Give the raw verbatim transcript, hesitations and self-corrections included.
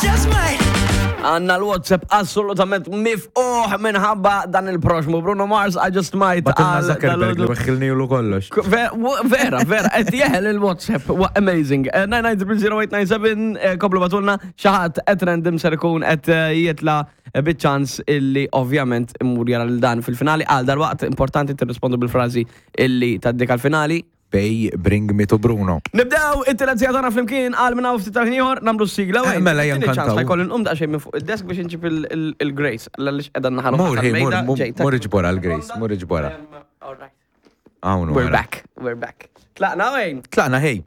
just might. Għandna l-WhatsApp assolutament miftuħ minħabba dan il-proxmu. Bruno Mars, I Just Might. Bagħtilna għal Zuckerberg li dal-għodu. weħħilni kollox. Ve- w- Vera, vera, qed jeħel il-WhatsApp, wa amazing. Eh, nine nine zero zero eight nine seven, eh, komplu ibagħtulna, xi ħadd at random ser ikun qed eh, jitla biċ-ċans illi ovvjament immur jara l dan fil-finali. Għal dal-waqt importanti tirrispondu bil-frażi illi tgħaddik għal-finali. Pay, bring me to Bruno. Nibdew it-tielet siegħa tagħna flimkien għal minn hawn ftit tal-ħin ieħor nagħmlu s-sigla. Eh, mela, ejja nkantaw. Ħa jkolli nqum daqsxejn minn fuq id-desk biex inġib il- il- il-Grace. Għaliex qiegħda naħa Mur, hey, mur, mur, mur iġborha l-Grace, mur iġborha. All right. Hawn We're wara. back. We're back. Tlaqna, Wayne. Tlaqna, hey.